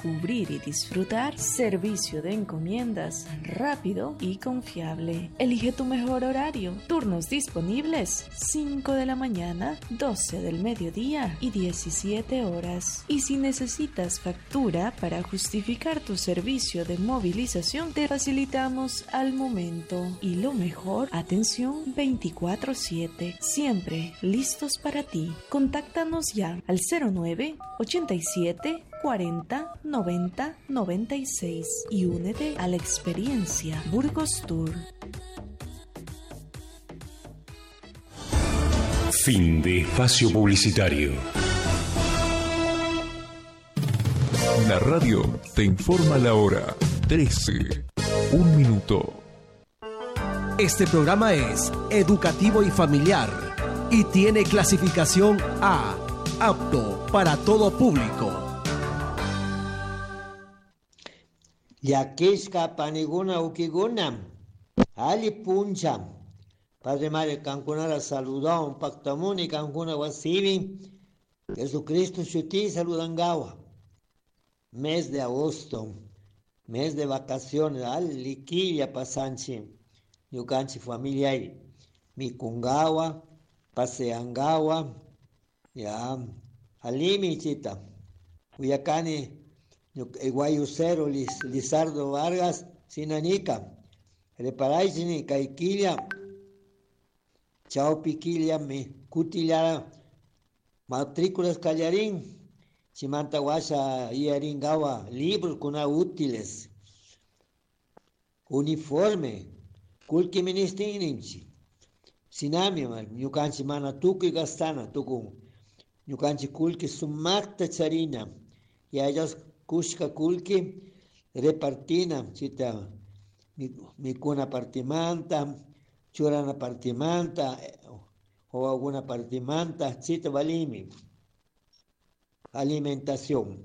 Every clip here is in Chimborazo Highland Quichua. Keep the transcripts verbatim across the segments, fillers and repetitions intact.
descubrir y disfrutar. Servicio de encomiendas rápido y confiable. Elige tu mejor horario. Turnos disponibles cinco de la mañana, doce del mediodía y diecisiete horas. Y si necesitas factura para justificar tu servicio de movilización, te facilitamos al momento. Y lo mejor, atención veinticuatro siete, siempre listos para ti. Contáctanos ya al cero nueve ochenta y siete cuarenta noventa noventa y seis y únete a la experiencia Burgos Tour. Fin de espacio publicitario. La radio te informa la hora trece, un minuto. Este programa es educativo y familiar y tiene clasificación A, apto para todo público. Llakishka paniguna ukiguna, ali puncha. Padre Mario kankunara saludón, pactamuni kankuna wasibi, Jesucristo shuti saludangawa. Mes de agosto, mes de vacaciones, ali quilla pasanchi, ñukanchi familia mikungawa, paseangawa, ya, alimi chita, uyakani, guayucero Liz, Lizardo Vargas, sinanika, reparaichini, kaikilla, chaupiquilla, mi kutillara, matrículas callarín, chimanta guasha, iaringawa, libros kuna útiles, uniforme, kulki ministinimchi, sinami, ñukanchi mana tukuy gastana, tukun, ñukanchi kulki sumakta charina, y a ellos kushka kulki repartina, chita, mikuna partimanta, churana partimanta, o alguna partimanta, chita valimi. Alimentación.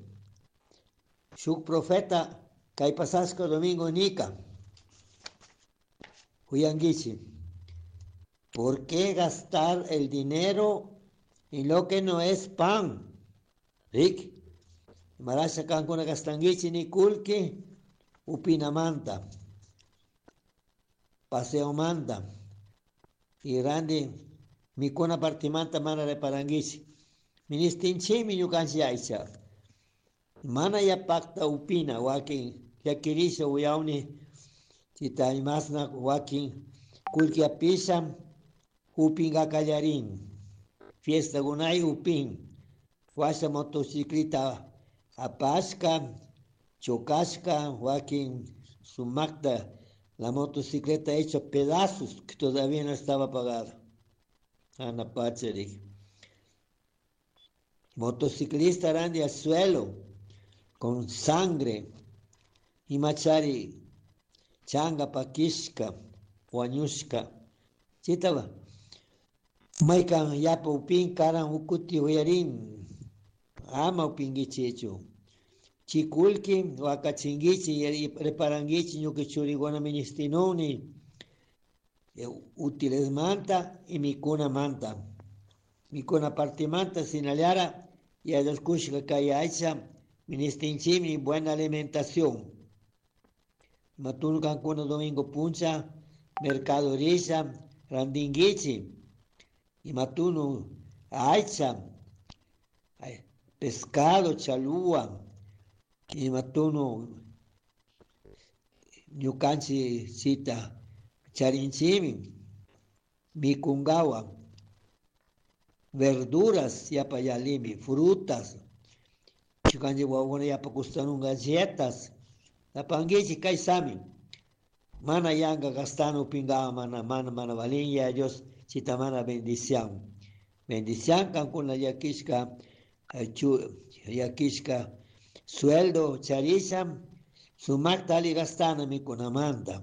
Shuk profeta, kay pasasco domingo nika, huyanguichi. ¿Por qué gastar el dinero en lo que no es pan? Rick, marasha kankuna gastanguichi ni kulki, upinamanta, paseomanta, y randi, mikuna partimanta mana reparanguichi. Ministinchimi ñukanchi aycha. Mana ya pacta upina, wakin, yakirisha uyauni, chita imasna wakin, kulki apisha, upinga kallarin. Fiesta gunay upin. Washa motocicleta apashka, chocashka, wakin sumakta, la motocicleta hecha pedazos que todavía no estaba pagada. Ana Pacherik. Motociclista randi al suelo, con sangre, y machari, changa pakishka, huañushka. Chitaba. Maikan yapa upin karan ukuti huyarin, ama upinguichichu. Chikulki, wakachinguichi, reparanguichi, ñuki churigona ministinuni, útiles manta y mikuna manta. Mikuna partimanta sinallara y a los kushka kaya ministinchimi buena alimentación. Matunu kankuna domingo puncha, mercado risa, randinguichi. Y matunu aycha, pescado, chalúa. Y matunu ñukanchi chita, charinchimi, mikungawa. Verduras, yapa yalimi, frutas, chikanji wawuna yapa kustanun galletas, napanguichi kaisami, mana yanga gastano pingawa mana mana mana valin ya Dios chita mana bendición. Bendición kankuna yakishka, yakishka sueldo charisha, sumakta ali gastana mikunamanta.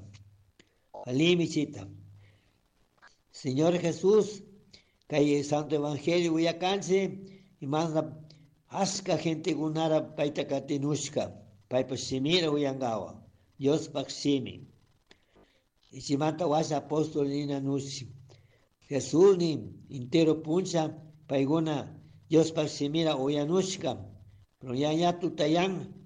Alimi chita. Señor Jesús, kay Santo Evangelio uyakanchi y más aska gente gunara paita katinushka paypa shimira uyangawa Dios pak shimi. Y chimanta washa apóstol nina nushi Jesús ni entero puncha payguna Dios pak shimira uyanushka pero ya ya tutayan